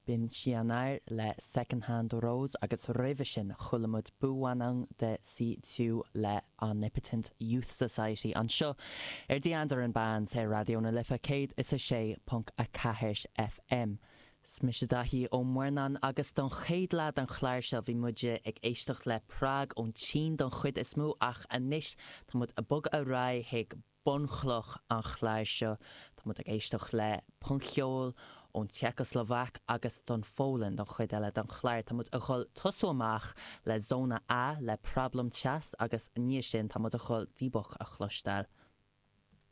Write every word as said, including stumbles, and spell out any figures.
B'in Xian'er le Second Hand Rose agus roimhe sin chuala muid 不万能 de C two le Omnipotent Youth Society anseo ar The Andaran Bands ar Raidió na Life céad is a sé ponc a ceathair F M. Is mise Daithí Ó Muirneáin agus don chéad leath den chlár seo bhí muid ag éisteacht le prog ón tSín don chuid is mó, ach anois tá muid ag bogadh ar aghaidh chuig bunchloch an chláir seo. Tá muid ag éisteacht le punc-cheol ón tSeicslóvaic agus don Pholainn don chuid eile den chlár. Tá muid ag dul tosú amach le Zóna A le Problém Teas agus ní sin tá muid ag dul Dybbuk a chloisteáil.